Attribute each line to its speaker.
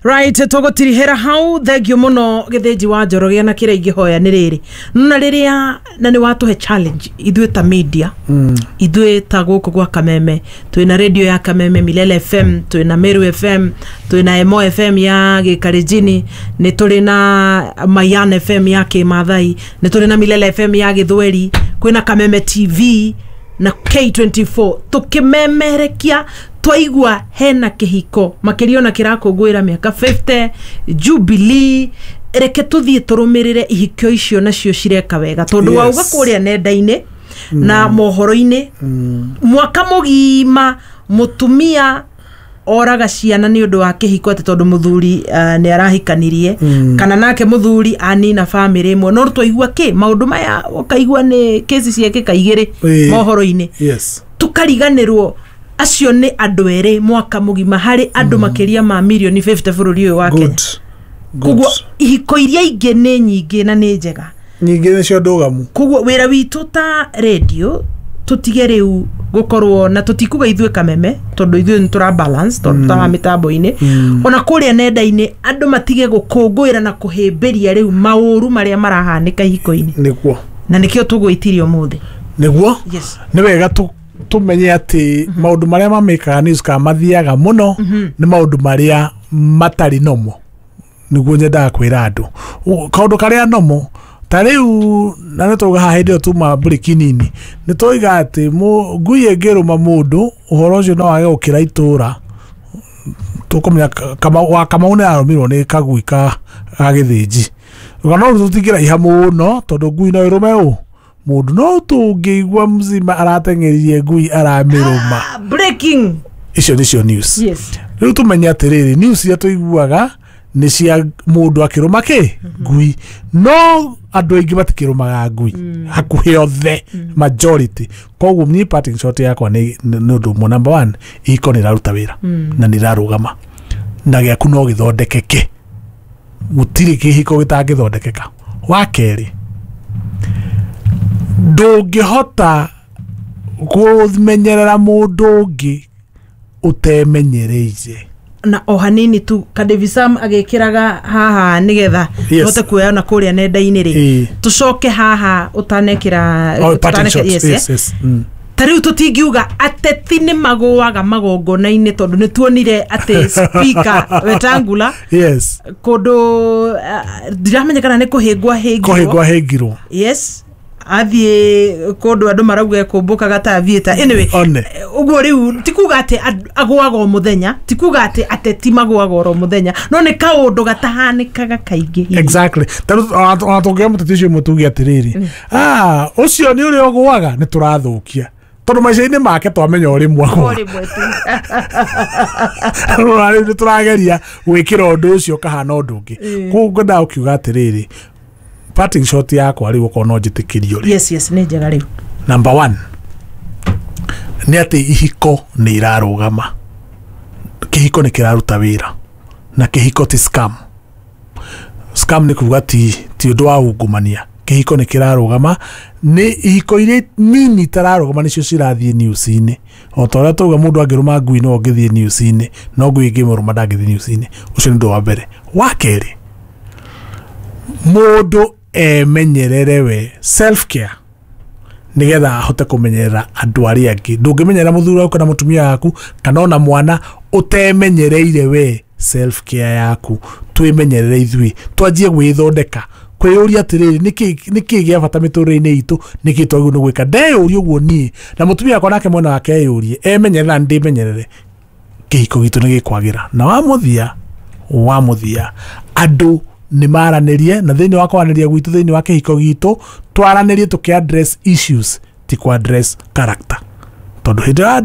Speaker 1: Right, tũgũtirihĩra hau. Thank you mũno, Gĩthĩnji wa Njoroge. Na kĩrĩa ingĩhoya nĩ rĩrĩ, na rĩrĩa na nĩ watũhe challenge ithuĩ ta media, ithuĩ ta gũkũ gwa Kameme, twĩna radio ya Kameme, Milele FM, twĩna Meru FM, twĩna Emo FM ya Gĩkarenjini, nĩ tũrĩ na Mayan FM ya Kĩmathai, nĩ tũrĩ na Milele FM ya Gĩthweri, kwĩna Kameme TV na K24. Tũkĩmemerekia twaigua hena kĩhiko makĩria ona kĩrakũngũĩra mĩaka 50 jubilee, reke tũthiĩ tũrũmĩrĩre ihikio icio nacio cireka wega, tondũ wauga kũrĩa nenda-inĩ na mohoro-inĩ mwaka mũgima mũtumia oraga ciana nĩ ũndũ wa kĩhiko, atĩ tondũ mũthuri nĩ arahikanirie, kana nake mũthuri anina bamĩrĩ ĩmwe. No twaigua kĩ maũndũ maya, ũkaigua nĩ kĩci ciekĩka igĩrĩ mohoro-inĩ, tukariganĩrwo acio nĩ andũ erĩ mwaka mũgima harĩ andũ makĩria ma mirioni 50 bũrũri ũyũ wa Kenya.
Speaker 2: Good.
Speaker 1: Koguo ihiko iria ingĩ nĩ nyingĩ na nĩ njega.
Speaker 2: Nyingĩ nĩcio ndũgamu.
Speaker 1: Koguo wĩra witũ ta radio, tũtige rĩu gũkorwo na tũtikuga ithuĩ Kameme, tondũ ithuĩ nĩ tũra balance, tondũ tara mĩtambo-inĩ ona kũrĩa nenda-inĩ, andũ matige gũkũngũĩra na kũhĩmbĩria rĩu maũru marĩa marahanĩka ihiko-inĩ. Na nĩkĩo tũgwĩtirie ũmũthĩ.
Speaker 2: Nĩ wega tũmenye atĩ maũndũ marĩa mamĩkaga news kana mathiaga mũno nĩ maũndũ marĩa matarĩ nomo. Nĩguo nyendaga kwĩra andũ kaũndũ karĩa nomo ta rĩu, na nĩ twauga haha hĩndĩ ĩyo tuma mburĩki nini, nĩ twoiga atĩ ngui ĩngĩrũma mũndũ, ũhoro ũcio no wage gũkĩra itũra. Tũkũmenya wa Kamau nĩ arũmirwo nĩ kagui ka Gĩthĩnji. Rũgano rũu tũtingĩraiha mũno, tondũ ngui no ĩrũme ũ mũndũ, no tũngĩigua mzima arateng'eririe ngui aramĩrũma.
Speaker 1: Ah, breaking.
Speaker 2: Icio nĩcio news. Rĩu tũmenye atĩrĩrĩ, news iria tũiguaga nĩ cia mũndũ akĩrũma kĩ ngui, no andũ aingĩ matikĩrũmaga ngui, hakuhĩ othe, majority. Koguo niĩ parting shot yakwa nĩ ũndũ ũmwe. Number one, ihiko nĩ iraruta wĩra na nĩ irarũgama, na gĩaku no gĩthondekeke, gũtirĩ kĩhiko gĩtangĩthondekeka. Wa kerĩ, ndũngĩhota kũmenyerera mũndũ ũngĩ ũtemenyereire.
Speaker 1: Na o hanini tu Kadevisam agĩkĩraga haha nĩgetha tũhote kuoya na kũrĩa nenda-inĩ rĩ, tũcoke haha ũtanekĩra.
Speaker 2: Oh, parting shot.
Speaker 1: Yes,
Speaker 2: Yes.
Speaker 1: Ta rĩu tũtingiuga ateti nĩ magũaga magongona-inĩ, tondũ nĩ tuonire atĩ Speaker Wetangula kũndũ, ndiramenya kana nĩ kũhĩngwo ahĩngirwo.
Speaker 2: Kũhĩngwo ahĩngirwo.
Speaker 1: Yes, athiĩ kũndũ andũ marauga ekũmbũkaga ta theatre. Anyway,
Speaker 2: One.
Speaker 1: Ũguo rĩu ti kuga atĩ agũaga o mũthenya, ti kuga atĩ ateti magũaga oro mũthenya, no nĩ kaũndũ gatahanĩkaga kaingĩ hihi.
Speaker 2: Exactly. Tarĩu ona tũngĩoya mũteti ũcio ũmwe tuge atĩrĩrĩ, ah, ũcio nĩ ũrĩa ũgũaga, nĩ tũrathũkia, tondũ maica-inĩ make twamenya o rĩmwe
Speaker 1: O
Speaker 2: agũa.
Speaker 1: rĩmwe tu.
Speaker 2: Rora, rĩu nĩ tũrageria gwĩkĩra ũndũ ũcio ũkahana ũndũ ũngĩ. Koguo ngwendaga gũkiuga atĩrĩrĩ, parting shot yakwa rĩu, okorwo no njĩtĩkĩrio rĩ.
Speaker 1: Yes, nĩ njega rĩu.
Speaker 2: Number one nĩ atĩ ihiko nĩ irarũgama, kĩhiko nĩ kĩraruta wĩra, na kĩhiko ti scam. Scam nĩ kuga ti ũndũ wa ungumania. Kĩhiko nĩ kĩrarũgama. Nĩ ihiko iria nini itararũgama nĩcio cirathiĩ news-inĩ. O ta ũrĩa tauga mũndũ angĩrũma ngui no ũngĩthiĩ news-inĩ, no ngui ĩngĩmũrũma ndangĩthiĩ news-inĩ. Ũcio nĩ ũndũ wa mbere. Wa kerĩ, mũndũ emenyerere we, self care, nigetha ahote kũmenyerera andũ arĩa angĩ. Ndũngĩmenyerera mũthuri waku kana mũtumia waku kana ona mwana ũtemenyereire we self care yaku. Twĩmenyerere ithuĩ, twanjie gwĩthondeka, kwĩyũria atĩrĩrĩ, nĩkĩ gĩa bata mĩtũrĩre-inĩ itũ, nĩkĩ twagĩrĩirwo nĩ gwĩka. Ndeyũria ũguo niĩ na mũtumia wakwa, nake mwena wake eyũrie, emenyerere na ndĩmenyerere, kĩhiko gitũ nĩ gĩkwagĩra. Na wa mũthia, andũ nĩ maranĩrie, na thĩinĩ wa kwaranĩria gwitũ thĩinĩ wa kĩhiko gitũ, twaranĩrie tũkĩ address issues, ti ku address character, tondũ hĩndĩ ĩrĩa